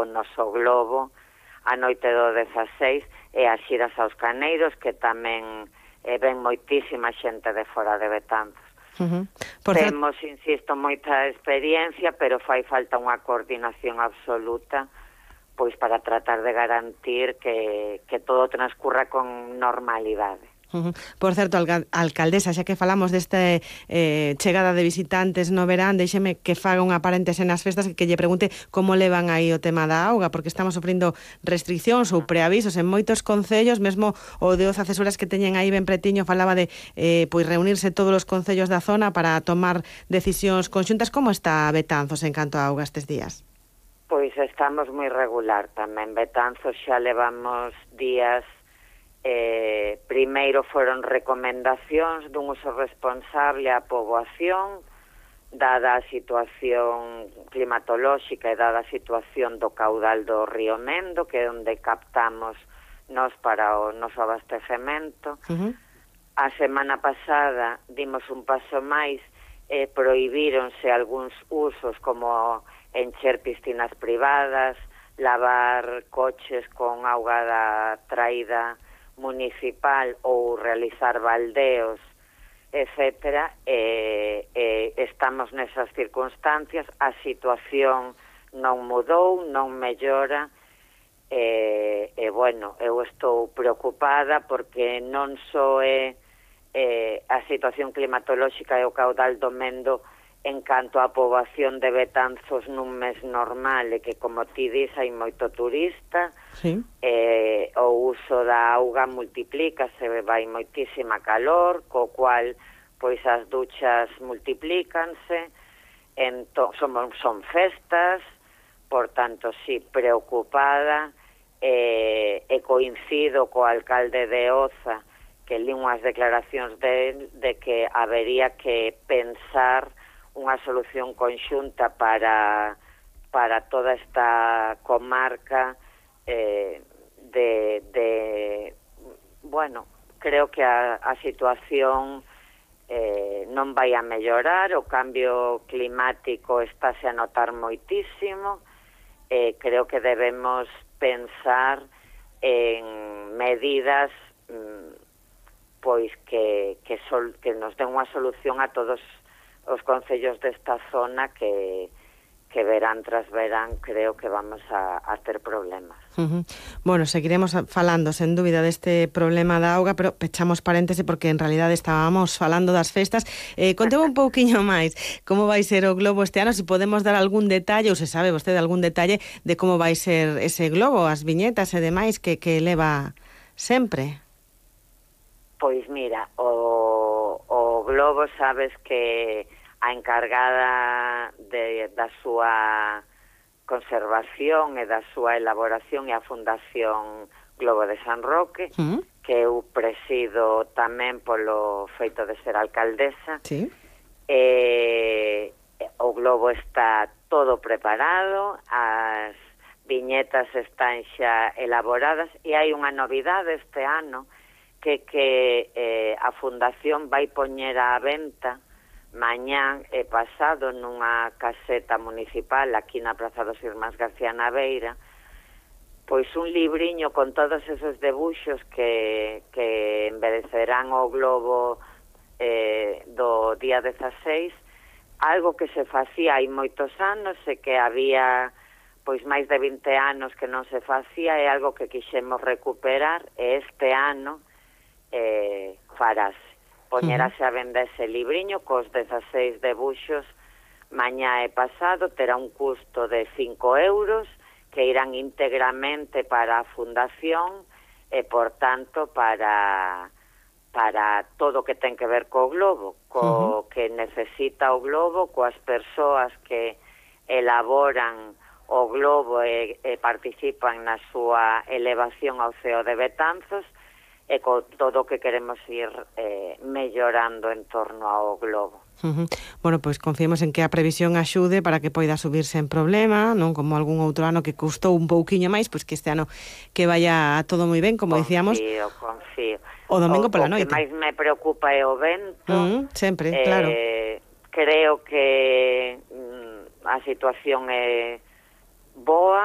o noso globo a noite do 16 e as xiras aos Caneiros, que tamén ven moitísima xente de fora de Betanzos. Temos, insisto, moita experiencia, pero fai falta unha coordinación absoluta pois para tratar de garantir que todo transcurra con normalidade. Por certo, alcaldesa, xa que falamos deste chegada de visitantes no verán, déxeme que faga unha paréntese nas festas que lle pregunte como levan aí o tema da auga, porque estamos sofrindo restriccións ou preavisos en moitos concellos, mesmo o de Oza Cesuras que teñen aí ben pretiño falaba de pois reunirse todos os concellos da zona para tomar decisións conxuntas. Como está Betanzos en canto a auga estes días? Pois estamos moi regular tamén. Betanzos xa levamos días. Primeiro foron recomendacións dun uso responsable á poboación, dada a situación climatolóxica e dada a situación do caudal do río Mendo, que é onde captamos nos para o noso abastecemento. A semana pasada dimos un paso máis e prohibíronse algúns usos como encher piscinas privadas, lavar coches con auga da traída municipal ou realizar baldeos, etcétera. Estamos nesas circunstancias, a situación non mudou, non mellora, bueno, eu estou preocupada porque non só é a situación climatolóxica e o caudal do Mendo en canto á poboación de Betanzos nun mes normal, e que, como ti dis, hai moito turista, o uso da auga multiplícase, vai moitísima calor, co cual pois as duchas multiplícanse, son festas, por tanto, sí, preocupada, e coincido co alcalde de Oza, que li unhas declaracións de que habería que pensar unha solución conxunta para toda esta comarca. Bueno, creo que a situación non vai a mellorar, o cambio climático estáse a notar moitísimo, creo que debemos pensar en medidas pois que nos den unha solución a todos os concellos desta zona que verán tras verán creo que vamos a ter problemas. Bueno, seguiremos falando sen dúbida deste problema da auga, pero pechamos paréntese porque en realidade estábamos falando das festas. Contemos un pouquiño máis como vai ser o globo este ano, se podemos dar algún detalle, ou se sabe vostede algún detalle de como vai ser ese globo, as viñetas e demais que leva sempre. Pois mira, o globo sabes que a encargada da súa conservación e da súa elaboración é a Fundación Globo de San Roque, que eu presido tamén polo feito de ser alcaldesa. O globo está todo preparado, as viñetas están xa elaboradas e hai unha novidade este ano que a Fundación vai poñer á venta mañán e pasado nunha caseta municipal aquí na Praza dos Irmáns García Naveira, pois un libriño con todos esos debuxos que embedecerán o globo do día 16, algo que se facía hai moitos anos e que había pois máis de 20 anos que non se facía, é algo que quixemos recuperar e este ano farase. Poñerase a venda ese libriño cos 16 debuxos mañá e pasado, terá un custo de 5 euros que irán íntegramente para a Fundación e, por tanto, para todo o que ten que ver co globo, co que necesita o globo, coas persoas que elaboran o globo e participan na súa elevación ao ceo de Betanzos, e con todo o que queremos ir mellorando en torno ao globo. Bueno, pois confiemos en que a previsión axude para que poida subirse en problema, non como algún outro ano que custou un pouquiño máis, pois que este ano que vaya todo moi ben, como dicíamos. Confío. O domingo pola noite. O que máis me preocupa é o vento. Sempre, claro. Creo que a situación é boa,